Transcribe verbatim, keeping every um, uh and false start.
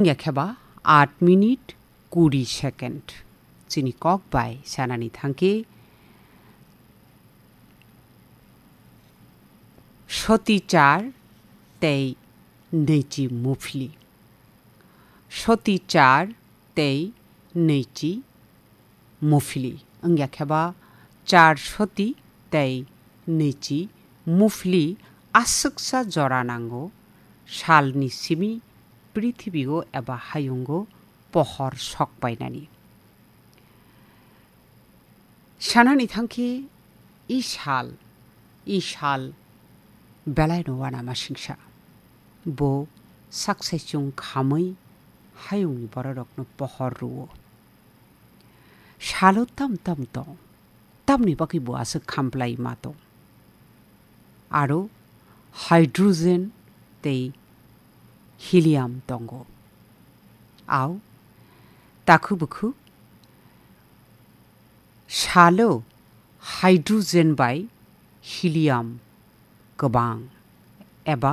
Wngya khe ba aat minute kuri second. Chini kok bai sanani thangkhe soti char tei neichi muphli. Soti char tei neichi muphli. Wngya khe ba char soti tei neichi muphli aswksa jora nango salni simi prithibigo eba hayungo pohor sok painani. Sanani thangkhe i sal, i sal belaino uanama singsa. Bo saksaichung khamwi hayungni bororokno pohor rwo. Salo tam tam tong, tamni bagwi bo aswk khamplai ma tong. Aro hydrogen tei helium tongo. Au, takhu bukhu salo hydrogen bai helium kwbang eba